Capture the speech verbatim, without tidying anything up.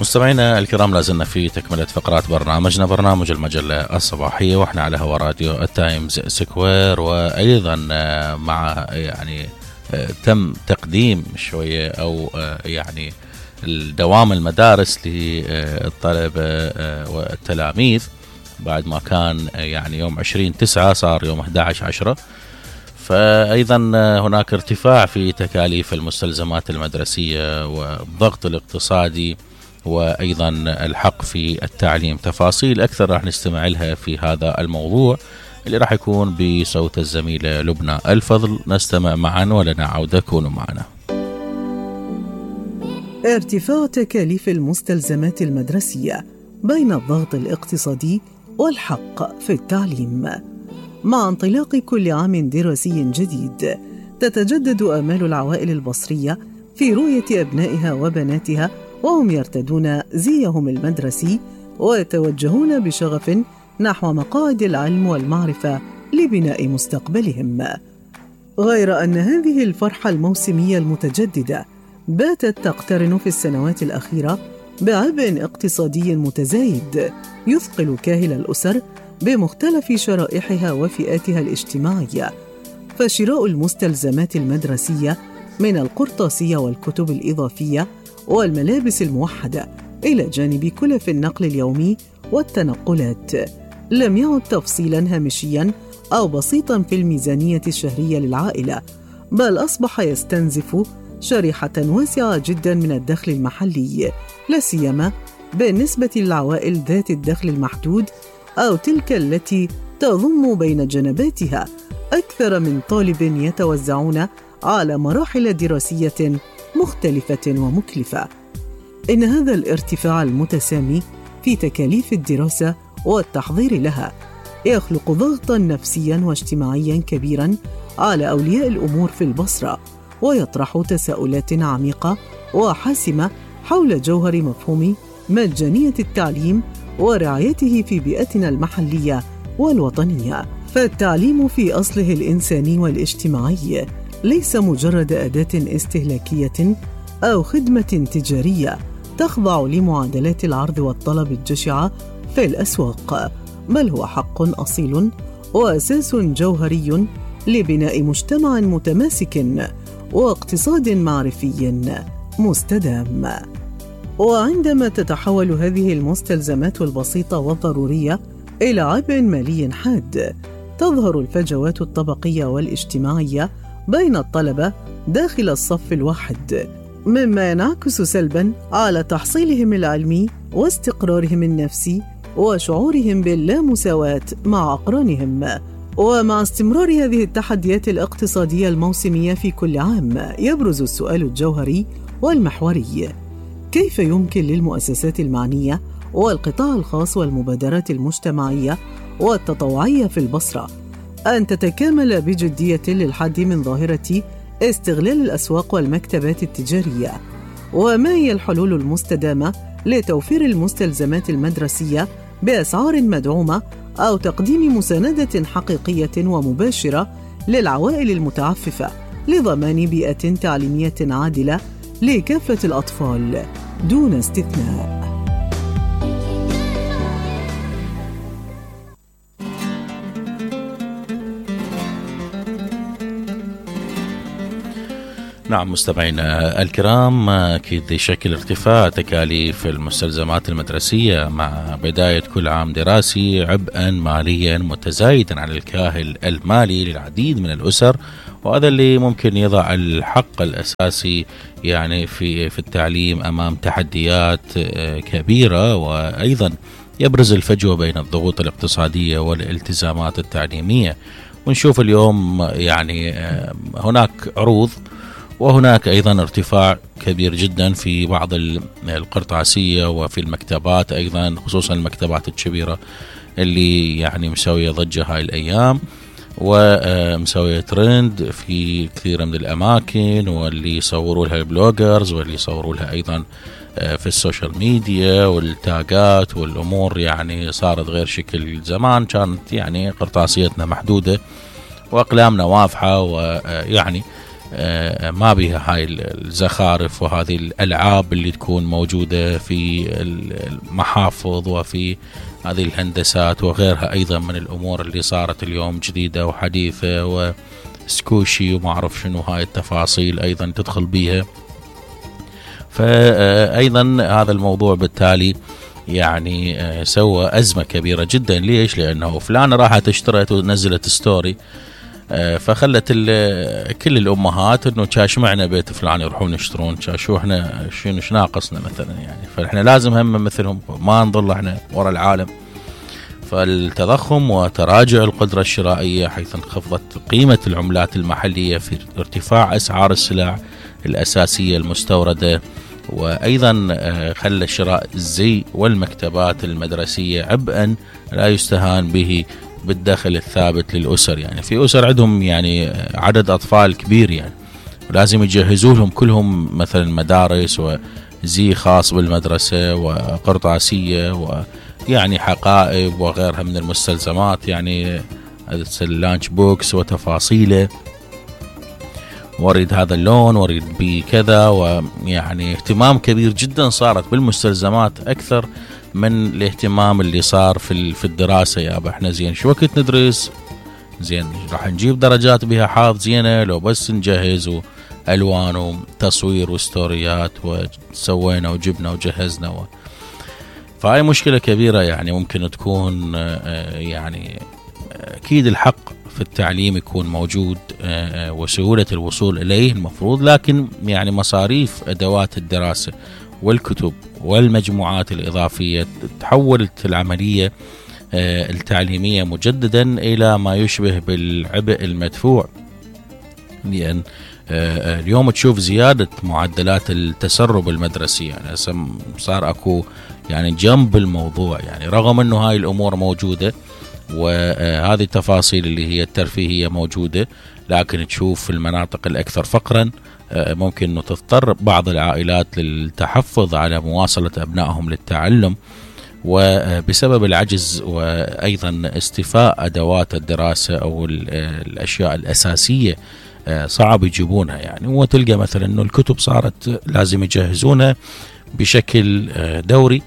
مستمعينا الكرام، لازلنا في تكملة فقرات برنامجنا، برنامج المجلة الصباحية، واحنا على هوا راديو التايمز سكوير. وأيضا مع يعني تم تقديم شوية أو يعني الدوام المدارس للطلبة والتلاميذ بعد ما كان يعني يوم عشرين تسعة صار يوم أحد عشر عشرة. فأيضا هناك ارتفاع في تكاليف المستلزمات المدرسية والضغط الاقتصادي وأيضا الحق في التعليم. تفاصيل أكثر راح نستمع لها في هذا الموضوع اللي راح يكون بصوت الزميلة لبنى الفضل. نستمع معا ولنا عودة، كونوا معنا. ارتفاع تكاليف المستلزمات المدرسية بين الضغط الاقتصادي والحق في التعليم. مع انطلاق كل عام دراسي جديد تتجدد آمال العوائل البصرية في رؤية أبنائها وبناتها وهم يرتدون زيهم المدرسي ويتوجهون بشغف نحو مقاعد العلم والمعرفة لبناء مستقبلهم. غير أن هذه الفرحة الموسمية المتجددة باتت تقترن في السنوات الأخيرة بعبء اقتصادي متزايد يثقل كاهل الأسر بمختلف شرائحها وفئاتها الاجتماعية. فشراء المستلزمات المدرسية من القرطاسية والكتب الإضافية والملابس الموحدة إلى جانب كلف النقل اليومي والتنقلات لم يعد تفصيلاً هامشياً أو بسيطاً في الميزانية الشهرية للعائلة، بل أصبح يستنزف شريحة واسعة جداً من الدخل المحلي، لا سيما بالنسبة للعوائل ذات الدخل المحدود أو تلك التي تضم بين جنباتها أكثر من طالب يتوزعون على مراحل دراسية مختلفة ومكلفة. إن هذا الارتفاع المتسامي في تكاليف الدراسة والتحضير لها يخلق ضغطاً نفسياً واجتماعياً كبيراً على أولياء الأمور في البصرة، ويطرح تساؤلات عميقة وحاسمة حول جوهر مفهوم مجانية التعليم ورعايته في بيئتنا المحلية والوطنية. فالتعليم في أصله الإنساني والاجتماعي ليس مجرد أداة استهلاكية أو خدمة تجارية تخضع لمعادلات العرض والطلب الجشعة في الأسواق، بل هو حق أصيل وأساس جوهري لبناء مجتمع متماسك واقتصاد معرفي مستدام. وعندما تتحول هذه المستلزمات البسيطة والضرورية إلى عبء مالي حاد، تظهر الفجوات الطبقية والاجتماعية بين الطلبة داخل الصف الواحد، مما ينعكس سلباً على تحصيلهم العلمي واستقرارهم النفسي وشعورهم باللامساواة مع أقرانهم. ومع استمرار هذه التحديات الاقتصادية الموسمية في كل عام، يبرز السؤال الجوهري والمحوري: كيف يمكن للمؤسسات المعنية والقطاع الخاص والمبادرات المجتمعية والتطوعية في البصرة أن تتكامل بجدية للحد من ظاهرة استغلال الأسواق والمكتبات التجارية؟ وما هي الحلول المستدامة لتوفير المستلزمات المدرسية بأسعار مدعومة أو تقديم مساندة حقيقية ومباشرة للعوائل المتعففة لضمان بيئة تعليمية عادلة لكافة الأطفال دون استثناء؟ نعم مستمعينا الكرام، أكيد يشكل ارتفاع تكاليف المستلزمات المدرسية مع بداية كل عام دراسي عبئا ماليا متزايدا على الكاهل المالي للعديد من الأسر، وهذا اللي ممكن يضع الحق الأساسي يعني في في التعليم أمام تحديات كبيرة. وأيضا يبرز الفجوة بين الضغوط الاقتصادية والالتزامات التعليمية. ونشوف اليوم يعني هناك عروض وهناك أيضا ارتفاع كبير جدا في بعض القرطاسية وفي المكتبات أيضا، خصوصا المكتبات الكبيرة اللي يعني مسوية ضجة هاي الأيام ومسوية ترند في كثير من الأماكن، واللي يصوروا لها البلوجرز واللي يصوروا لها أيضا في السوشيال ميديا والتاجات والأمور يعني صارت غير شكل زمان. كانت يعني قرطاسيتنا محدودة وأقلامنا واضحة، ويعني ما بها هاي الزخارف وهذه الألعاب اللي تكون موجودة في المحافظ وفي هذه الهندسات وغيرها أيضا من الأمور اللي صارت اليوم جديدة وحديثة، وسكوشي وما أعرف شنو هاي التفاصيل أيضا تدخل بيها. فأيضا هذا الموضوع بالتالي يعني سوى أزمة كبيرة جدا. ليش؟ لأنه فلانة راحت اشترت ونزلت ستوري، فخلت كل الأمهات إنه كاش معنا بيت فلان يروحون يشترون، كاشو إحنا شنو ناقصنا مثلا يعني، فإحنا لازم هم مثلهم ما نضل إحنا ورا العالم. فالتضخم وتراجع القدرة الشرائية حيث انخفضت قيمة العملات المحلية في ارتفاع أسعار السلع الأساسية المستوردة، وأيضا خلى شراء الزي والمكتبات المدرسية عبئا لا يستهان به بالدخل الثابت للأسر. يعني في أسر عندهم يعني عدد أطفال كبير يعني، ولازم يجهزوا لهم كلهم مثلا مدارس وزي خاص بالمدرسة وقرطاسية ويعني حقائب وغيرها من المستلزمات، يعني اللانش بوكس وتفاصيله، واريد هذا اللون واريد بكذا، ويعني اهتمام كبير جدا صارت بالمستلزمات أكثر من الاهتمام اللي صار في في الدراسة. يا أبا احنا زين شو وقت ندرس، زين راح نجيب درجات بها حاض زينة لو بس نجهز وألوان وتصوير وستوريات وسوينا وجبنا وجهزنا و... فهاي مشكلة كبيرة يعني ممكن تكون يعني أكيد الحق في التعليم يكون موجود وسهولة الوصول إليه المفروض، لكن يعني مصاريف أدوات الدراسة والكتب والمجموعات الإضافية تحولت العملية التعليمية مجددا إلى ما يشبه بالعبء المدفوع. لأن اليوم تشوف زيادة معدلات التسرب المدرسي، يعني صار أكو يعني جنب الموضوع، يعني رغم أنه هاي الأمور موجودة وهذه التفاصيل اللي هي الترفيهية موجودة، لكن تشوف في المناطق الأكثر فقرا ممكن أنه تضطر بعض العائلات للتحفظ على مواصلة أبنائهم للتعلم، وبسبب العجز وأيضا استيفاء أدوات الدراسة أو الأشياء الأساسية صعب يجيبونها يعني. وتلقى مثلا أنه الكتب صارت لازم يجهزونها بشكل دوري،